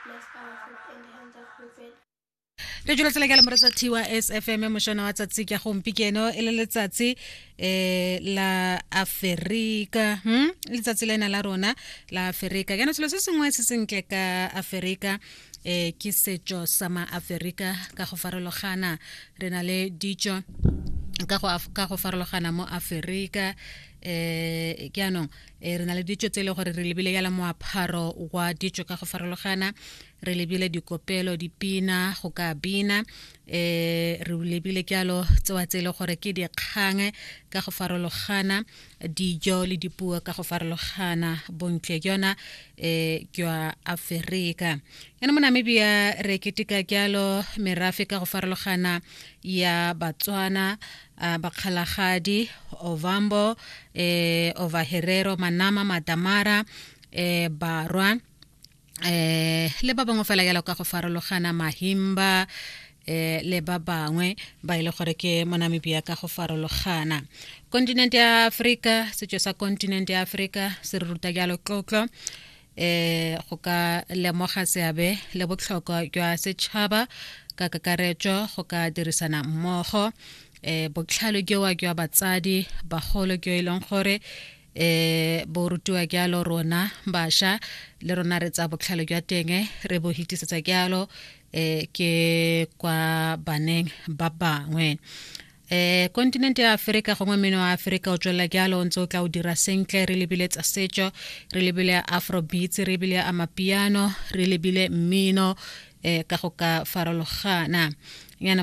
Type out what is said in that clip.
Bless our food in the hands of wicked. Re jula tsela ke le moretsa thiwa SFM mošwana wa tsatsi ke gompikeno e le letsatsi la Aferika, Letsatsi lena la rona la Aferika. Jaanong selo se sengwe se sentle ka Aferika ke setso sa ma-Aferika ka go farologana. Re na le ditso ka go farologana mo Aferika. Jaanong re na le ditso tse e leng gore re lebile yala moapharo wa ditso ka go farologana, re lebile dikopelo, dipina, go ka bina, re lebile jalo tsewa tse e leng gore ke dikgang ka go farologana, dijo le dipuo ka go farologana. Bontle jona jwa Aferika. Yana mo Namibia re keteka jalo merafe ka go farologana ya Batswana, Bakgalagadi, Ovambo, Ovaherero, Manama, Madamara, Barwa, le ba bangwe fela jalo ka go farologana, Mahimba, le ba bangwe ba ile gore ke mo Namibia ka go farologana. Kontinente ya Afrika, setso sa kontinente ya Afrika se re ruta jalo tlotlo, go ka lemoga seabe le botlhokwa jwa setšhaba ka kakaretso, go ka dirisana mmogo, botlhale jowa jwa batsadi bagolo jo e leng gore bo rutiwa jalo rona bašwa, le rona re tsa botlhale jwa teng re bo hitisetsa jalo ke kwa baneng ba bangwe. Kontinente ya Afrika gongwe mmino wa Afrika o tswelela jalo o ntse o tla o dira sentle. Re lebile tsa setso, re lebile afrobeats, re lebile amapiano, re lebile mmino ka go ka farologana yana.